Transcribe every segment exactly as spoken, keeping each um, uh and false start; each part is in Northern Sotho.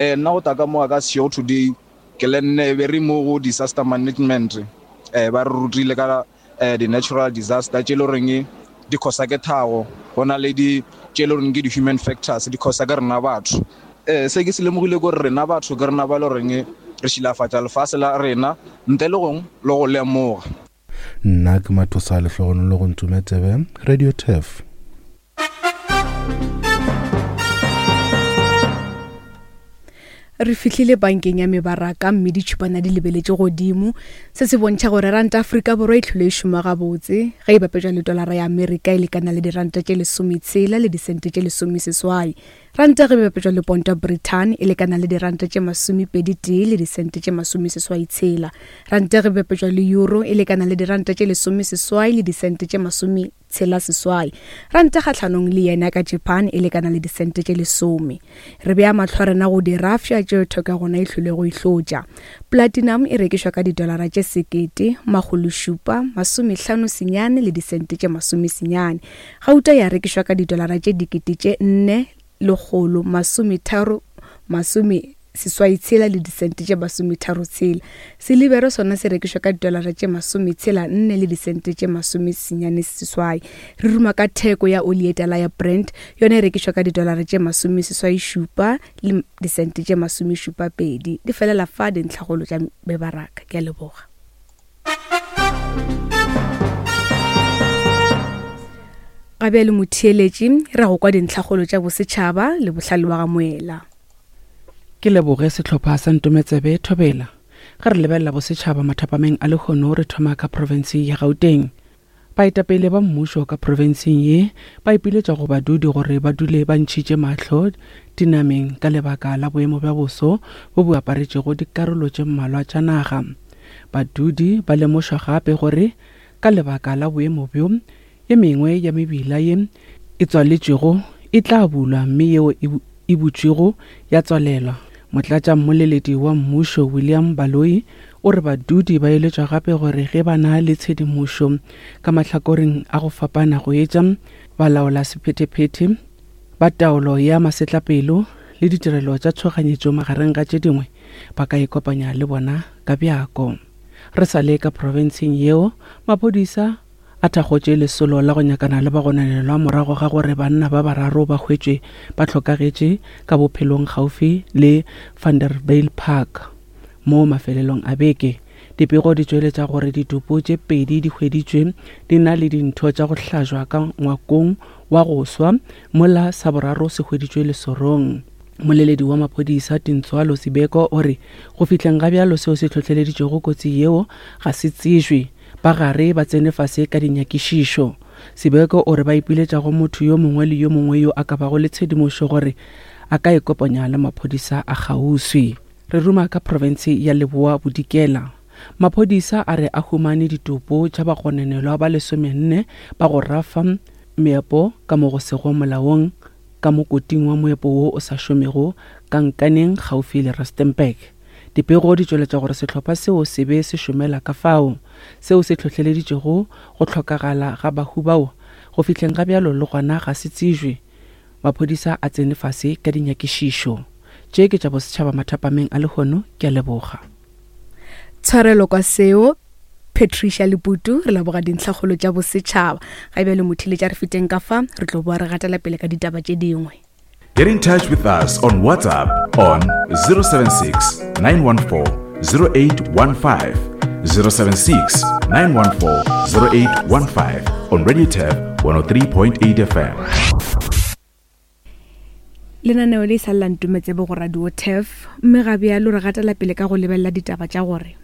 Eh nna go tla ka mo ka show today ke le nne be re mo go disaster management eh ba re rutile ka eh di natural disaster tše le reng di khosa ke thago go na le di tše le reng ke di human factors di khosa ke rena batho. Eh se ke se lemogile gore rena batho ke rena ba le reng re šilafatša lefase la rena ntle le gong le go lemoga. Nna ke Mathosa Lehlogonolo go Ntsumetsebe, Radio Turf. Re fihlile bankeng ya mebaraka mme ditšhupana di lebeletše godimo. Se se bontšha gore ranta Afrika Borwa e tlhole e šoma gabotse ge e bapetšwa le tolara ya Amerika e lekana le diranta tše lesometshela le disente tše lesomeseswai. Ranta ge e bapetšwa le ponto ya Britain e lekana le diranta tše masomepedi tee le disente tše masomeseswai tshela. Ranta ge e bapetšwa le euro e lekana le diranta tše lesomeseswai le disente tše masome tshela seswai. Ranta kgahlanong le yena ka Japan e lekana le disente tše lesome. Re bea mahlo a rena go dirafša tšeo theko ya gona e hlwele go ihlotša. Platinum e rekišwa ka didolara tše sekete makgolo šupa masomehlano senyane le disente tše masomesenyane. Gauta ya rekišwa ka didolara tše dikete tše nne lekgolo masometharo masome seswai tshela le disente tše masometharo tshela. Silibere sona se rekišwa ka didolara tše masometshela nne le disente tše masomesenyane seswai. Re ruma ka theko ya oli ye tala ya Brent, yona e rekišwa ka didolara tše masomeseswai šupa le disente tše masomešupa pedi. Di felela fa dintlhagolo tša mebaraka. Ke a leboga. Ga bjale motheeletši re go kwa dintlhagolo tša bosetšhaba le bohlale wa ga Moela. Ke leboge sehlopha sa Ntometsebe Thobela. Ge re lebelela bosetšhaba mathapameng a lehono re thoma ka profense ya Gauteng. Baetapele ba mmušo ka profenseng ye ba ipiletša go badudi gore ba dule ba ntšhitše mahlo dinameng ka lebaka la boemo bja boso bo bo aparetšego dikarolo tše mmalwa tša naga. Badudi ba lemošwa gape gore ka lebaka la boemo bjo ye mengwe ya mebila ye e tswaletšwego e tla bulwa mme yeo e butšwego ya tswalelwa. Motlatša mmoleledi wa mmušo William Baloyi o re badudi ba eletšwa gape gore ge ba na le tshedimošo ka mahlakoreng a go fapana go etša balaola sephethephethe ba taolo ya masetlapelo le ditirelo tša tshoganyetšo magareng ga tše dingwe ba ka ikopanya le bona ka bjako. Re sa le ka profenseng yeo maphodisa a thakgotše lesolo la go nyakana le bagononelwa morago ga gore banna ba bararo ba hwetšwe ba hlokagetše ka bophelong gaufi le Vanderbijl Park mo mafelelong a beke. Dipego di tšweletša gore ditopo tše pedi di hweditšwe di na le dintho tša go hlajwa ka ngwakong wa go swa mola sa boraro se hweditšwe lesorong. Moleledi wa maphodisa Tintswalo Sibeko o re go fihleng ga bjalo seo se hlohleleditšego kotsi yeo ga se tsejwe, ba gare ba tsene fase ka dinyakišišo. Sibeko o re ba ipiletša go motho yo mongwe le yo mongwe yo a ka bago le tshedimošo gore a ka ikopanya le maphodisa a kgauswi. Re ruma ka profense ya Leboa Bodikela. Maphodisa a re a humane ditopo tša bagononelwa ba lesomenne ba go rafa meepo ka mo go sego molaong ka mokoting wa moepo wo o sa šomego ka Nkaneng gaufi le Rustenburg. Dipego di tšweletša gore sehlopha seo se be se šomela ka fao, seo se hlohleleditšego go hlokagala ga bahu bao go fihleng ga bjalo le gona ga se tsejwe. Maphodisa a tsene fase ka dinyakišišo. Tše ke tša bosetšhaba mathapameng a lehono, ke a leboga. Tshwarelo kwa seo Patricia Leputu, re leboga dintlhakgolo tša bosetšhaba. Ga bjale motheeletši re feteng ka fa, re tlo boa re gatela pele ka ditaba tše dingwe. Get in touch with us on WhatsApp on zero seven six, nine one four, zero eight one five, zero seven six, nine one four, zero eight one five on Radio Turf one oh three point eight F M. Lenaneo le sa lla Ntometsebe go Radio Turf, mme ga bjalo re gatela pele ka go lebelela ditaba tša gore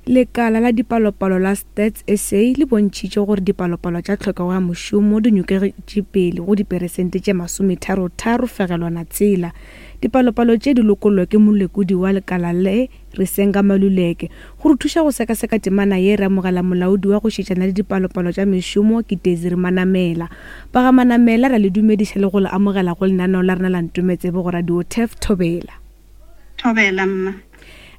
lekala la dipalopalo la Stats S A le bontšhitše gore dipalopalo tša tlhokego ya mošomo di nyokegetše pele go diperesente tše masometharo-tharo fegelwana tshela. Dipalopalo tše di lokollwa ke molekodi wa lekala le Risenga Maluleke. Go re thuša go sekaseka temana ye re amogela molaodi wa go šetšana le dipalopalo tša mešomo ke Desiree Manamela. Ba ga Manamela ra le dumediša le go le amogela go lenaneo la rena la Ntometsebe go Radio Turf. Thobela. Thobela mma.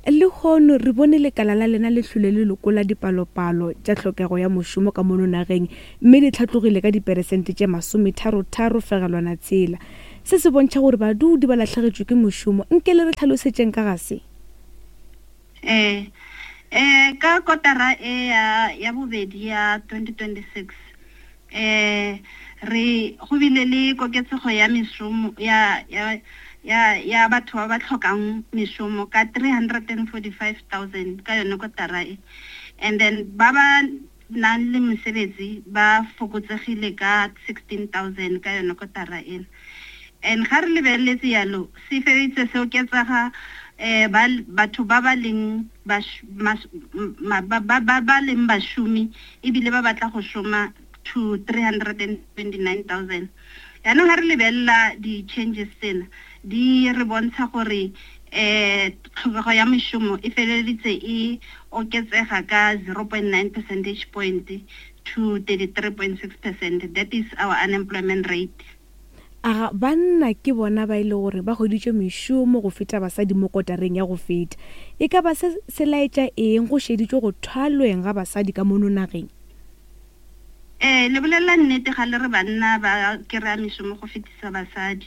Lehono re bone lekala la lena le hlwele le lokola dipalopalo tša tlhokego ya mošomo ka mono nageng mme di tlhatlogile ka diperesente tše masometharo-tharo fegelwana tshela. Se se bontšha gore badudi ba lahlegetšwe ke mošomo. Nke le re tlhalosetšeng ka ga se? Eh eh ka kotara e ya ya bobedi ya twenty twenty-six eh re go bile le koketsego ya mešomo ya ya ya ya batho ba ba tlhokang mešomo ka three hundred and forty-five thousand ka yone kotara e, and then ba ba nang le mesebetsi ba fokotsegile ka sixteen thousand ka yone kotara ena. And ga re lebeletse yalo se feditse se oketsaga eh ba batho ba ba leng ba ba ba ba leng bašomi ebile ba batla go šoma to three hundred and twenty-nine thousand. Yaanong ga re lebelela di-changes tsena di re bontsha gore eh tlhokego ya mešomo e feleleditse e oketsega ka zero point nine percentage point to thirty-three point six percent. That is our unemployment rate. Aga banna ke bona ba ile gore ba hweditše mešomo go feta basadi mo kotareng ya go feta. E ka ba se se laetša eng go šeditšwe go thwalweng ga basadi ka mono nageng? Eh le bolela nnete ga le re banna ba kry-a mešomo go fetisa basadi.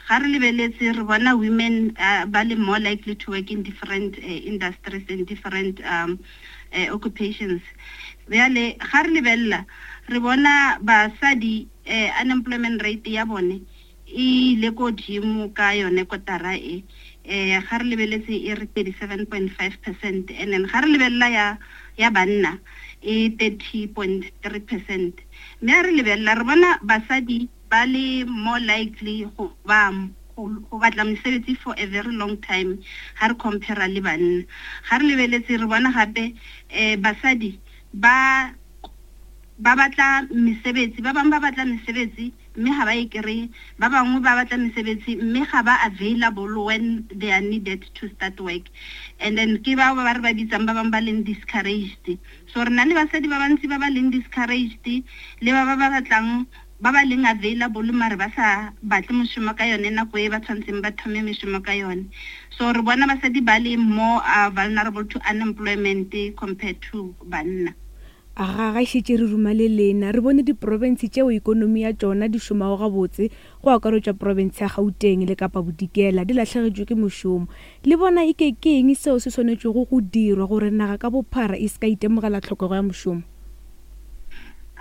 Ga re lebeletse re bona women uh, ba le more likely to work in different uh, industries and different um, uh, occupations. Bjale ga re lebelela re bona basadi eh, unemployment rate ya bone e ile kodimo ka yone kotara e eh ga re lebeletse e re thirty-seven point five percent, and then ga re lebelela ya ya banna e thirty point three percent. Mme ha re lebelela re bona basadi ba le more likely go ba go batla mesebetsi for a very long time ha re compare le banna. Ga re lebeletse re bona gape eh basadi ba ba batla mesebetsi, ba bangwe ba batla mesebetsi mme ga ba e kry-e, ba bangwe ba batla mesebetsi mme ga ba available when they are needed to start work. And then ke bao ba re ba bitsang ba bangwe ba leng discouraged. So re na le basadi ba bantsi ba ba leng discouraged le ba ba ba batlang ba ba leng available mare ba sa batle mošomo ka yone nako e ba tshwanetseng ba thome mešomo ka yone. So re bona basadi ba le more uh, vulnerable to unemployment compared to banna. Aga ga šetše re ruma le lena re bone diprofense tšeo ikonomi ya tšona di šomago gabotse go akaretša profense ya Gauteng le Kapa Bodikela di lahlegetšwe ke mošomo. Le bona eke ke eng seo se swanetšego go dirwa gore naga ka bophara e se ka itemogela tlhokego ya mošomo?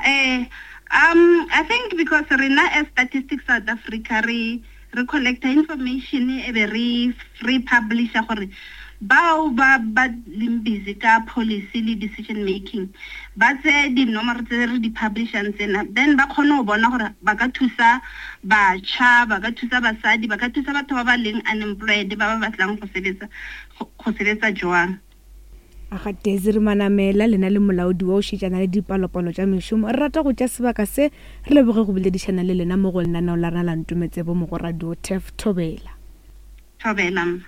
Eh um I think because rena as Statistics South Africa re re collecta information e be re re publisha gore bao ba ba leng busy ka policy le decision making ba tse dinomoro tse re di publishang tsena, then ba kgone go bona gore ba ka thusa batjha, ba ka thusa basadi, ba ka thusa batho ba ba leng unemployed ba ba batlang go sebetsa go sebetsa jwang. Aga Desiree Manamela lena le molaodi wa o šetšana le dipalopalo tša mešomo, re rata go tša sebaka se re leboge go boledišana le lena mo go lenaneo la rena la Ntometsebo mo go Radio Turf. Thobela. Thobela.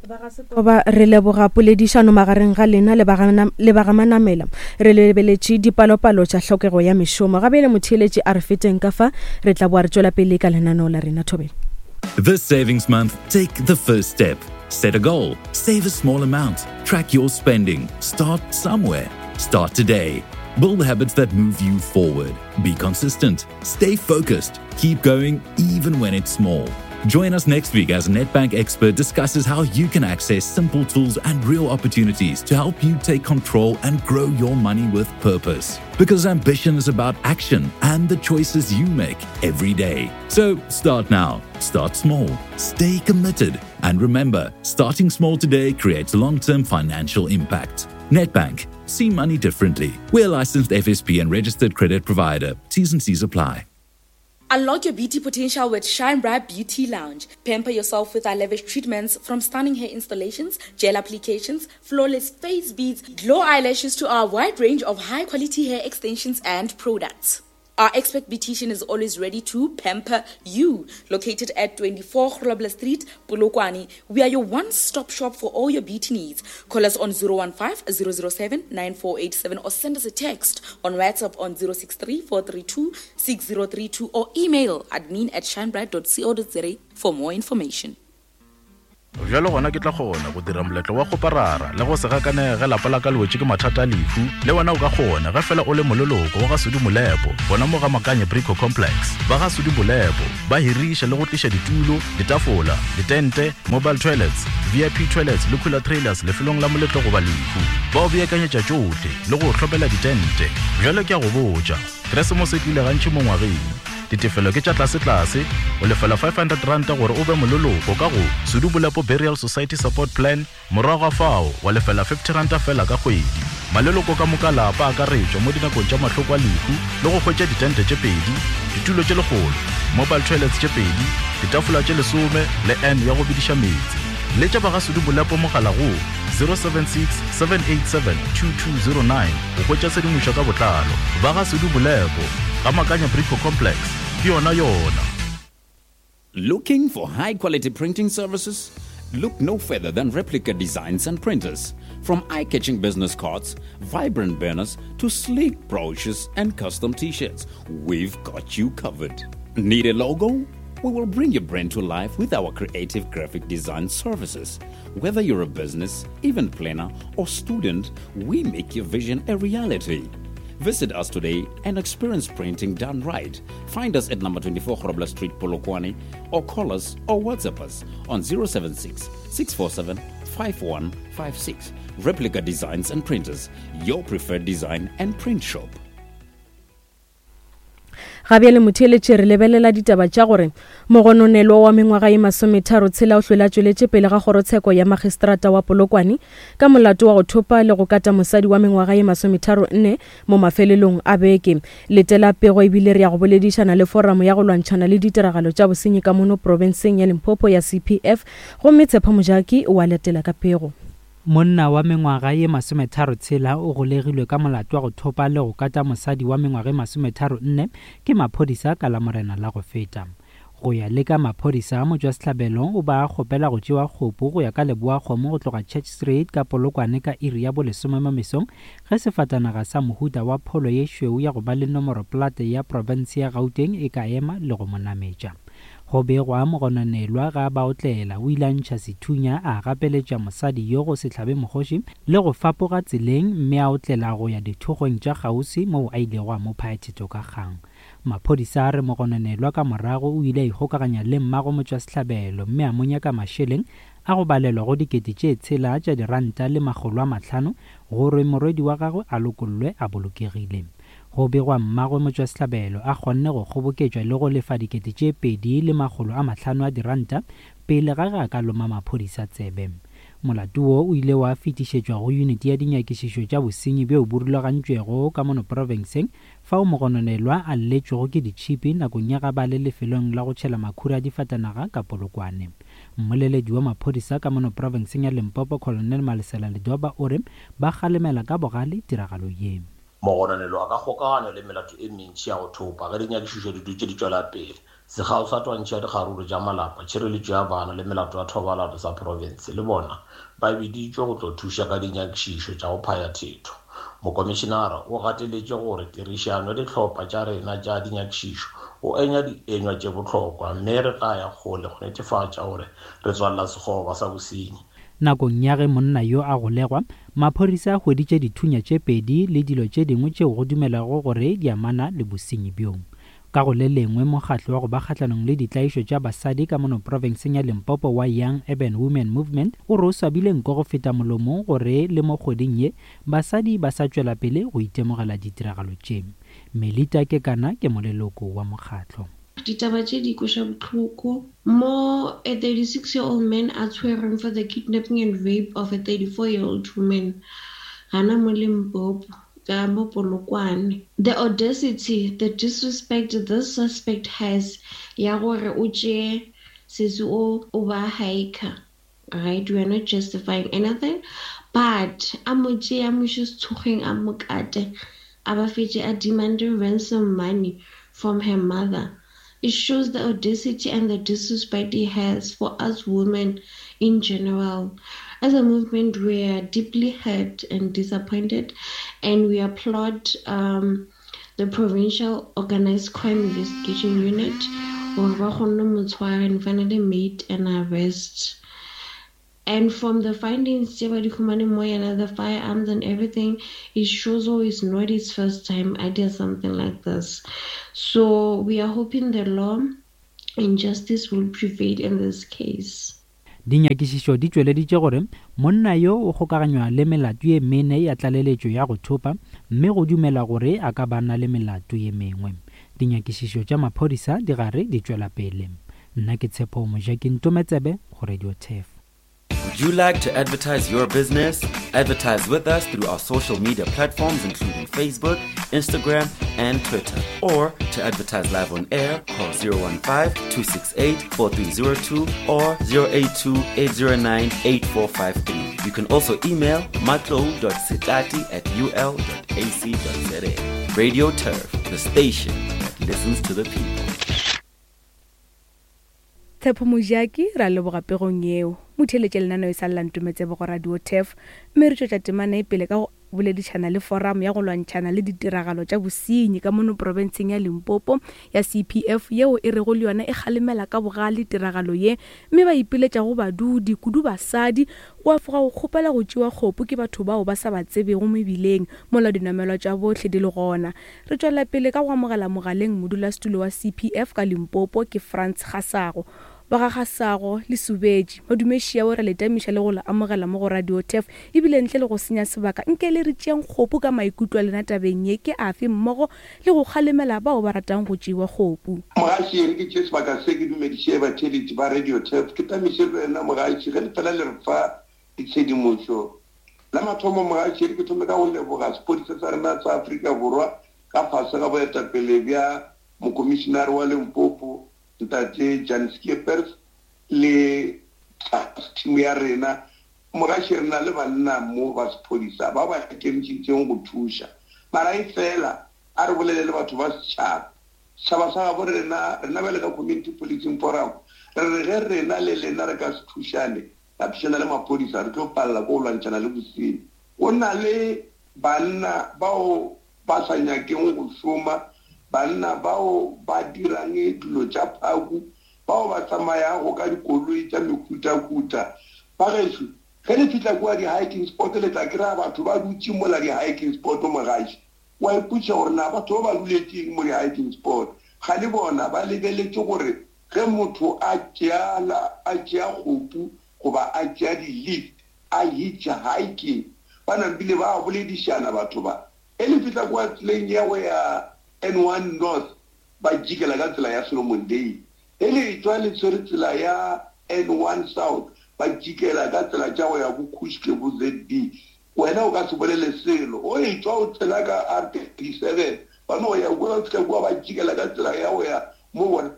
Ba re leboga poledišano magareng ga lena le ba ga Manamela. Re lebeletše dipalopalo tša tlhokego ya mešomo. Gabele motheeletši a re feteng ka fa re tla boa re tšwela pele ka lenaneo la rena. Thobela. This savings month, take the first step. Set a goal, save a small amount, track your spending, start somewhere. Start today. Build habits that move you forward. Be consistent, stay focused, keep going even when it's small. Join us next week as Nedbank expert discusses how you can access simple tools and real opportunities to help you take control and grow your money with purpose. Because ambition is about action and the choices you make every day. So start now, start small, stay committed, and remember, starting small today creates long-term financial impact. Nedbank, see money differently. We're a licensed F S P and registered credit provider. T's and C's apply. Unlock your beauty potential with Shine Bright Beauty Lounge. Pamper yourself with our lavish treatments, from stunning hair installations, gel applications, flawless face beads, glow eyelashes to our wide range of high-quality hair extensions and products. Our expert beautician is always ready to pamper you. Located at twenty-four Grobler Street, Polokwane, we are your one-stop shop for all your beauty needs. Call us on zero one five, zero zero seven, nine four eight seven or send us a text on WhatsApp on zero six three, four three two, six zero three two or email admin at shinebright dot co dot za for more information. Bjalo gona ke tla kgona go dira moletlo wa kgoparara le go se gakanege ge lapa la ka le wetše ke mathata a lehu. Le wena o ka kgona ge fela o le moleloko wa ga Sudu Molepo gona mo ga Makanye Brico Complex. Ba ga Sudu Molepo ba hiriša le go tliša ditulo, ditafola, ditente, mobile toilets, V I P toilets le cooler trailers lefelong la moletlo goba lehu. Ba o beakanyetša tšohle le go hlopela ditente. Bjalo ke a go botša, Keresemose e tlile gantši mo ngwageng. Ditefelo ke tša tlase-tlase, o lefela five hundred ranta gore o be moleloko ka go Sudu Bolepo Burial Society Support Plan, morago ga fao wa lefela fifty ranta fela ka kgwedi. Maleloko ka moka lapa akaretšwa mo dinakong tša mahloko a lehu le go hwetša ditente tše pedi, ditulo tše lekgolo, mobile toilets tše pedi, ditafola tše lesome le N ya go bediša meetse. Letša ba ga Sudu Bolepo mogala go zero seven six, seven eight seven, two two zero nine go hwetša tshedimošo ka botlalo. Ba ga Sudu Bolepo ga Makanya Brico Complex, ke yona yona. Looking for high quality printing services? Look no further than Replica Designs and Printers. From eye-catching business cards, vibrant banners, to sleek brochures and custom t-shirts, we've got you covered. Need a logo? We will bring your brand to life with our creative graphic design services. Whether you're a business, event planner, or student, we make your vision a reality. Visit us today and experience printing done right. Find us at number twenty-four Grobler Street, Polokwane, or call us or WhatsApp us on zero seven six, six four seven, five one five six. Replica Designs and Printers, your preferred design and print shop. Ga bjale motheeletše re lebelela ditaba tša gore mogononelwa wa mengwaga ye masometharo tshela o hlwela tšweletše pele ga kgorotsheko ya magistrata wa Polokwane ka molato wa go thopa le go kata mosadi wa mengwaga ye masometharo nne mo mafelelong a beke. Letela pego ebile re ya go boledišana le foramo ya go lwantšhana le ditiragalo tša bosenyi ka mono profenseng ya Limpopo ya C P F, gomme Tshepo Mojaki o a latela ka pego. Monna wa mengwaga ye masometharo tshela o golegilwe ka molato wa go thopa le go kata mosadi wa mengwaga ye masometharo nne ke maphodisa ka Lamorena la go feta. Go ya le ka maphodisa, motšwasehlabelo o ba kgopela go tšewa kgopo go ya ka leboa kgomo go tloga Church Street ka Polokwane ka iri ya bolesome mo mesong ge sefatanaga sa mohuta wa pholo ye šweu ya go ba le nomoro plate ya profense ya Gauteng e ka ema le go mo nametša. Go begwa mogononelwa ga ba otlela o ile a ntšha sethunya a gapeletša mosadi yo go se hlabe mokgoši le go fapoga tseleng mme a otlela go ya dithokgweng tša kgauswi moo a ilego a mo phaya thetho ka kgang. Maphodisa a re mogononelwa ka morago o ile a ikgokaganya le mmago motšwasehlabelo mme a mo nyaka mašeleng a go balelwa go dikete tše tshela tša diranta le makgolo a mahlano gore morwedi wa gagwe a lokollwe a bolokegile. Go begwa mmagwe motšwasehlabelo a kgonne go kgoboketšwa le go lefa dikete tše pedi le makgolo a mahlano a diranta pele ga ge a ka loma maphodisa tsebe. Molato wo o ile wa fetišetšwa go yuniti ya dinyakišišo tša bosenyi bjo bo rulagantšwego ka mono profenseng fao mogononelwa a lletšwego ke ditšhipi nakong ya ga ba le lefelong la go tšhela makhura a difatanaga ka Polokwane. Mmoleledi wa maphodisa ka mono profenseng ya Limpopo, Colonel Malesela Ledoba, o re ba kgalemela ka bogale tiragalo ye. Mogononelwa a ka kgokaganywa le melato e mentši ya go thopa ge dinyakišišo di dutše di tšwela pele. Sekgao sa twantšho ya dikgaruru tša malapa, tšhireletšo ya bana le melato ya thobalano sa profense le bona ba biditšwe go tlo thuša ka dinyakišišo tša go phaya thetho. Mokomišenara o gateletše gore tirišano ya dihlopha tša rena tša dinyakišišo o enya dienywa tše bohlokwa mme re tla ya kgole go netefatša gore re tswalela sekgoba sa bosenyi. Nakong ya ge monna yo a golegwa, maphodisa a hweditše dithunya tše pedi le dilo tše dingwe tšeo go dumelago gore di amana le bosenyi bjo. Ka go le lengwe, mokgatlo wa go ba kgahlanong le ditlaišo tša basadi ka mono profenseng ya Limpopo wa Young Urban Women Movement o re o swabile nko go feta molomong gore le mo kgweding ye basadi ba sa tšwela pele go itemogela ditiragalo tše. Melita Kekana ke moleloko wa mokgatlo. Ditaba tše di kweša bohloko mo a thirty-six-year-old man a tshwerweng for the kidnapping and rape of a thirty-four-year-old woman gana mo Limpopo ka mo Polokwane. The audacity, the disrespect this suspect has ya gore o tšee sesi o o ba hiker, right? We are not justifying anything, but a mo tšee a mo iše sethokgweng a mo kate a ba fetše a demanding ransom money from her mother. It shows the audacity and the disrespect he has for us women in general. As a movement, we are deeply hurt and disappointed, and we applaud um, the Provincial Organized Crime Investigation Unit, or ba kgonne mo tshwara and finally made an arrest. And from the findings tše ba di humaneng mo yena, the firearms and everything, it shows oh it's not his first time I did something like this. So we are hoping the law and justice will prevail in this case. Dinyakišišo di tšweleditše gore monna yo o kgokaganywa le melato ye mene ya tlaleletšo ya go thopa, mme go dumela gore a ka ba na le melato ye mengwe. Dinyakišišo tša maphodisa di gare di tšwela pele. Nna ke Tshepo Mojaki, Ntometsebe go Radio Turf. Would you like to advertise your business? Advertise with us through our social media platforms including Facebook, Instagram, and Twitter. Or to advertise live on air, call zero one five, two six eight, four three zero two or zero eight two, eight zero nine, eight four five three. You can also email matlo dot setati at u l dot a c dot z a. Radio Turf, the station that listens to the people. Tshepo Mojaki, ra leboga pegong yeo. Motheeletše lenaneo e sa lla Ntometsebe go Radio Turf, mme re tšwetša temana e pele ka go boledišana le forum ya go lwantšhana le ditiragalo tša bosenyi ka mono profenseng ya Limpopo ya C P F, yeo e rego le yona e kgalemela ka bogale tiragalo ye, mme ba ipiletša go badudi kudu basadi go afoga go kgopela go tšewa kgopo ke batho bao ba sa ba tsebego mebileng mola dinamelwa tša bohle di le gona. Re tšwela pele ka go amogela mogaleng modulasetulo wa C P F ka Limpopo ke Frans Kgasago. Ba ga Kgasago le Subetši madumešia o re le tamiša le go le amogela mo go Radio Turf, ebile ntle le go senya sebaka nke le re tšeang kgopo ka maikutlo a lena tabeng ye ke afe mmogo le go kgalemela bao ba ratang go tšewa kgopo. Mogaši, re ke tšee sebaka se ke dumediše batheeletši ba Radio Turf, ke tamiše le wena mogaši ge le fela le re fa ditshedimošo. La mathomo mogaši, re ke thome ka go leboga sepodisa sa rena sa Afrika Borwa ka fase ga boetapele bja mokomišenare wa Limpopo Ntate Jan Skeepers le team ya rena. Mogaši, re na le banna mo ba sephodisa ba ba ikemišeditšeng go thuša, mara e fela a re bolele le batho ba setšhaba. Setšhaba sa gabo rena, rena bjale ka Community Policing Forum, re re ge rena le lena re ka se thušane, ra thušana le maphodisa, re tlo palela ko go lwantšhana le bosenyi. Go na le banna bao ba sa nyakeng go šoma, banna bao ba dirang dilo tša phaku, bao ba tsamayago ka dikoloi tša mehutahuta. Ba gešo, ge le fihla kua di-hiking spot, le tla kry-a batho ba dutše mola di-hiking spot mogaši. Wa ipotša gore na batho ba ba duletšeng mo di-hiking spot, ga le bona ba lebeletše gore ge motho a tšea a tšea kgopu goba a tšea di-lift a hitch hiking, ba nambile ba boledišana batho ba. E le fihla kua tseleng ya go ya N one North, ba jikela ka tsela ya Solomon Day. E le tšwa le tshwere tsela ya N one South, ba jikela ka tsela tša go ya bo Kushke bo Z B. Wena o ka se bolele selo, o e tšwa o tsela ka R thirty-seven, ba no ya kwa fihla kua ba jikela ka tsela ya go ya mo bona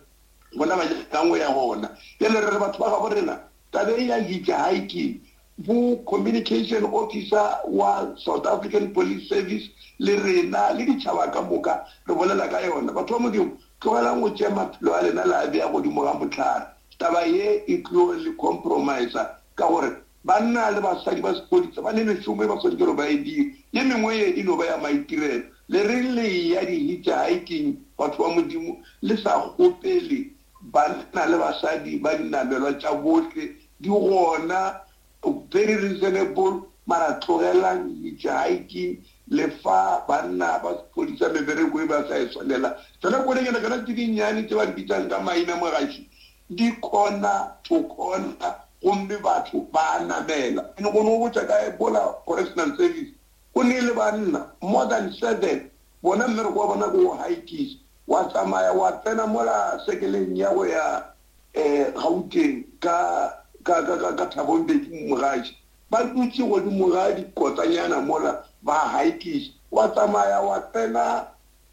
bona ba nyakang go ya gona. Bjale re re batho ba gabo rena, taba e ya hitch hiking, bo communication officer wa South African Police Service le rena le ditšhaba ka moka re bolela ka yona. Batho ba Modimo, tlogelang go tšea maphelo a lena le a bea godimo ga mohlare. Taba ye e tlo le compromise-a ka gore banna le basadi ba sepodisa ba ne mešomo e ba swanetše gore ba e dire, ye mengwe ye e no ba ya maitirelo. Le reng le ya di-hitch hiking, batho ba Modimo, le sa kgopele banna le basadi ba dinamelwa tša bohle di gona, very reasonable, mara tlogelang hitch hiking, le fa banna ba sepodisa mebereko e ba sa e swanela. Tsona kolonyana tsona tse dinnyane tse ba di bitsang ka maina mogaši, di corner to corner, gomme batho ba namela. Ene go no botša ka Ebola Correctional Service, go ne le banna more than seven, bona mmereko wa bona ke go hikisa, wa tsamaya wa tsena mola sekeleng ya go ya um Gauteng ka ka ka ka Thabo Mbeki mogaši, ba dutše godimo ga dikotanyana mola ba hikisa, wa tsamaya wa tsena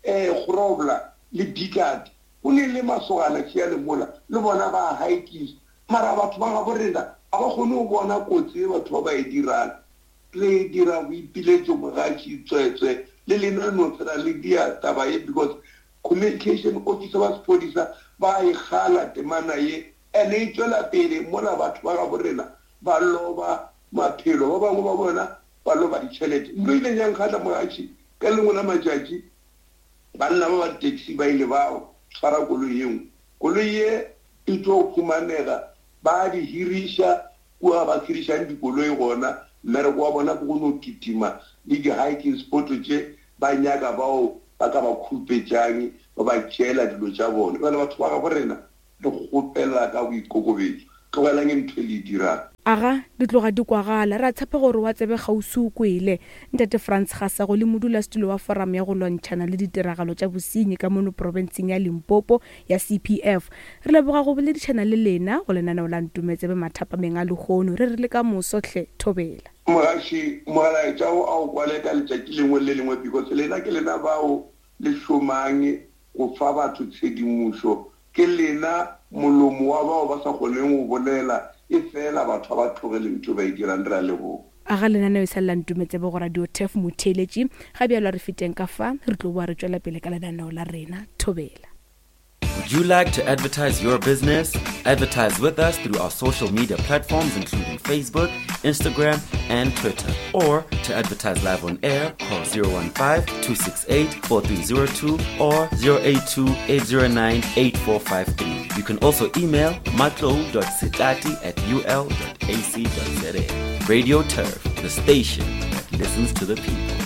um Grobler le Bikat, go ne le masogana tšea le mola le bona ba hikisa. Mara batho ba gabo rena ga ba kgone go bona kotsi e batho ba ba e dirang. Le dira boipiletšo mogaši tswetswe le lena no fela le dia taba ye, because communication officer ba sepodisa ba e kgala temana ye, ene e tšwela pele mola batho ba gabo rena ba loba maphelo, ba bangwe ba bona ba loba ditšhelete. Ntlo ile yang kgatla mogaši, ka lengwe la matšatši banna ba ba di-taxi ba ile ba tshwara koloi ye nngwe, koloi ye e tlo humanega, ba di hiriša Kua ba khirišang dikoloi gona, mmereko wa bona ke go no kitima le di-hiking spot tše ba nyaka bao ba ka ba khupetšang, ba ba tšeela dilo tša bona. Bjale batho ba gabo rena re kgopela ka boikokobetšo, tlogelang ntho e le e dirang. Aga, di tloga di kwagala. Re a tshepa gore wa tsebe kgauswi o kwele. Ntate Frans Gasago le modulasetulo wa Forum ya go lwantšhana le ditiragalo tša bosenyi ka mono profenseng ya Limpopo ya C P F. Re leboga go boledišana le lena go lenaneo la Ntumetsebe mathapameng a lehono. Re re le ka moso hle, thobela. Mogaši, mogalaetša o a o kwale ka letšatši lengwe le lengwe, because lena ke lena bao le šomang go fa batho tshedimošo. Ke lena molomo wa bao ba sa kgoneng go bolela, e fela batho ba tlogele ntho ba e dirang. Re a leboga. Aga lenaneo e sa lela Ntumetsebe go Radio Turf motheeletši. Ga bjalo re feteng ka fa, re tlo boa re tšwela pele ka lenaneo la rena. Thobela. Would you like to advertise your business? Advertise with us through our social media platforms including Facebook, Instagram, and Twitter. Or to advertise live on air, call zero one five, two six eight, four three zero two or zero eight two, eight zero nine, eight four five three. You can also email matlo dot setati at u l dot a c dot z a. Radio Turf, the station that listens to the people.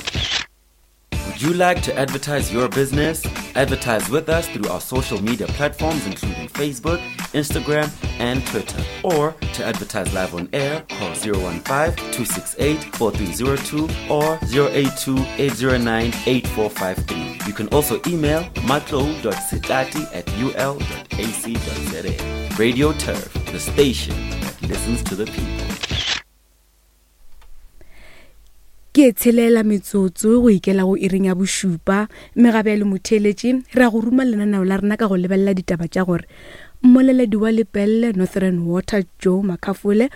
Would you like to advertise your business? Advertise with us through our social media platforms including Facebook, Instagram, and Twitter. Or to advertise live on air, call zero one five, two six eight, four three zero two or zero eight two, eight zero nine, eight four five three. You can also email matlo dot setati at u l dot a c dot z a. Radio Turf, the station that listens to the people. Ke tshelela metsotso go ikela go iring ya bošupa, mme gape le motheeletši re a go ruma lenaneo la rena ka go lebelela ditaba tša gore mmoleledi wa Lepelle Northern Water Joe Makafole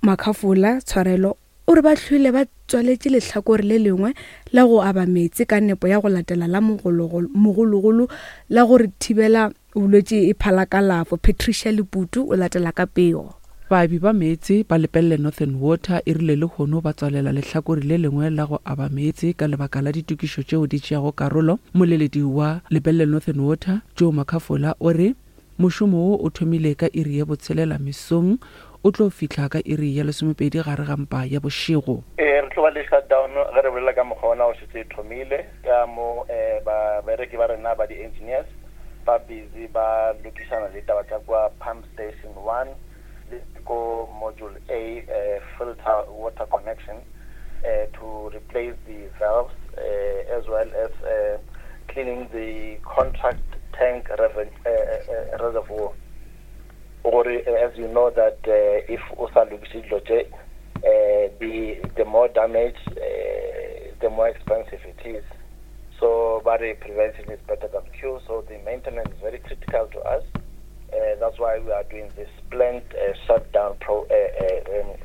Makafola tshwarelo o re ba hlwele ba tswaletše lehlakore le lengwe la go aba meetse ka nepo ya go latela la mogologolo la gore thibela bolwetši e phala kalafo. Patricia Leputu o latela ka pego. Baabi ba meetse ba Lepelle Northern Water e rile lehono ba tswalela lehlakore le lengwe la go aba meetse ka lebaka la ditokišo tšeo di tšeago karolo. Moleledi wa Lepelle Northern Water Joe Makafola o re mošomo wo o thomile ka iri ya botshelela mesong, o tlo fihla ka iri ya lesomepedi gare ga mpa ya bošego. E re tlo ba le shutdown ge re bolela ka mokgwa ona o šetse e thomile ka mo babereki ba rena ba di-engineers ba busy ba lokišana le taba tša kwa pump station one le ko module A, uh, filter water connection uh, to replace the valves, uh, as well as uh, cleaning the contract tank reven- uh, uh, reservoir. Or uh, as you know that uh, if o sa lokiše dilo tše, uh, the the more damage, uh, the more expensive it is. So but prevention is better than cure, so the maintenance is very critical to us. Uh, that's why we are doing this planned uh, shutdown pro, uh, uh, um,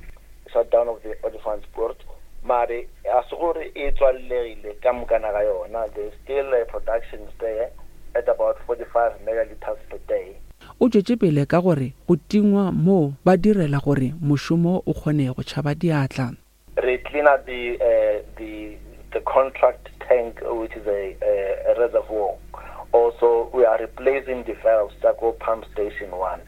shutdown of the Olifantspoort. Mare a se gore e tswallegile ka mokana ga yona, there's still uh, production there at about forty-five megaliters per day. O tšwetše pele ka gore go tingwa moo ba direla gore mošomo o kgone go tšhaba diatla. Re clean up the uh, the the contract tank, which is a, a, a reservoir. Also, we are replacing the valves that go pump station one.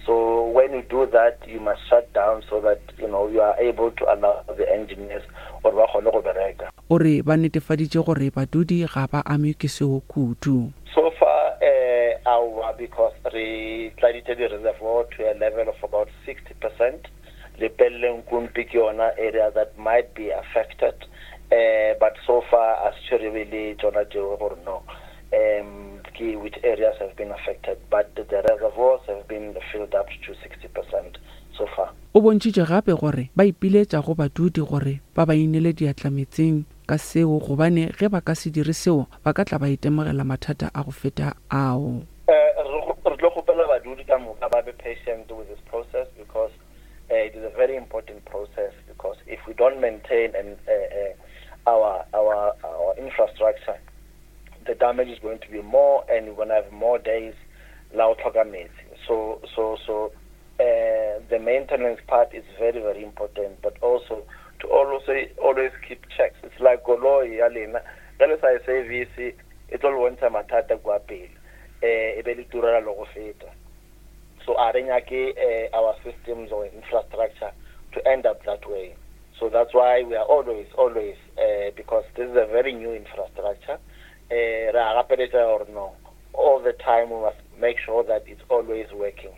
So when you do that, you must shut down so that, you know, you are able to allow the engineers or ba kgone go bereka. O re ba netefaditše gore badudi ga ba ame ke seo kudu. So far, uh, our, because re tladitše the reservoir to a level of about sixty percent. Lepelle Nkumpi ke yona area that might be affected, uh, but so far as tshwerebe tsona tšeo gore no. Um, which areas have been affected, but the reservoirs have been filled up to sixty percent so far. O bontšhitše gape gore ba ipiletša go badudi gore ba ba inele diatla metseng ka seo, gobane ge ba ka se dire seo ba ka tla ba itemogela mathata a go feta ao. Re tlo kgopela badudi ka moka ba be patient with this process, because uh, it is a very important process, because if we don't maintain and uh, uh, our our our infrastructure, the damage is going to be more, and we're going to have more days la o tlhoka metsi. So so so uh, the maintenance part is very, very important, but also to always always keep checks. It's like koloi ya lena ge le sa e service e tlo le bontšha mathata kwa pele, eh e be le turela le go feta. So a re nyake uh, our systems or infrastructure to end up that way. So that's why we are always, always, uh, because this is a very new infrastructure, uh, re a gapeletša gore no, all the time we must make sure that it's always working.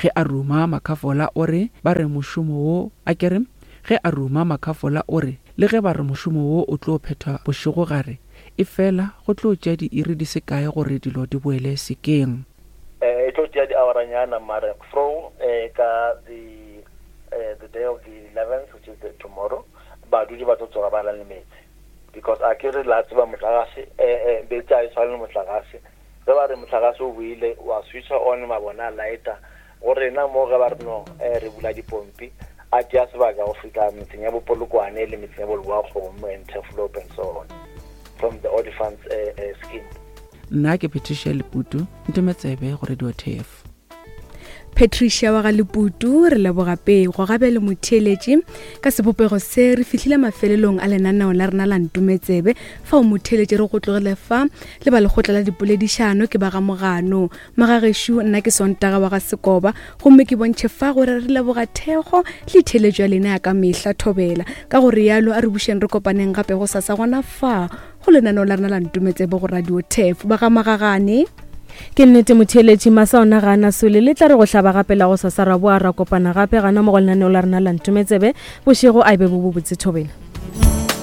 Ge a ruma Makhafola o re ba re mošomo wo a kere ge a ruma Makhafola o re le ge ba re mošomo wo o tlo phethwa bošegogare e fela go tlo tšea diiri di se kae gore dilo di boele sekeng. Eh, e tlo tšea diaoranyana mare fro eh, ka the eh, the day of the eleventh, which is the tomorrow, badudi ba tlo tsoga ba na le metsi, because a ke re la tseba motlakase, eh, eh, metsi a e tshwane le motlakase. Ge ba re motlakase o boile wa switcha on mabone a lighter, go rena mo ge ba re no, eh, re bula dipompi a tšea sebaka go fihla metseng ya Bopolokwane le metseng ya Boleboakgomo and Turfloop and so on from the Olifants uh, uh, scheme. Nna ke Patricia Leputu, Ntometsebe go Radio T F. Patricia wa ga Leputu, re leboga pego gabe le motheeletši. Ka sebopego se re fihlile mafelelong a lenaneo la rena la Ntometsebe. Fa o motheeletši re go tlogele fa le ba lekgotla la dipoledišano ke ba ga Mogano magagešo. Nna ke Sontaga wa ga Sekoba, gomme ke bontšhe fa gore re leboga thekgo le theeletšo ya lena ya ka mehla. Thobela ka gore yalo a re bušeng re kopaneng gape go sasa gona fa go lenaneo la rena la Ntometsebe go Radio Tef ba ga Magagane. Ke nnete motheeletši, masa ona ga ana sole le tla re go hlaba gape la go sasa ra boa ra kopana gape gana mo go lenaneo la rena la Ntometsebe. Bošego a e be bo bobotse. Thobela.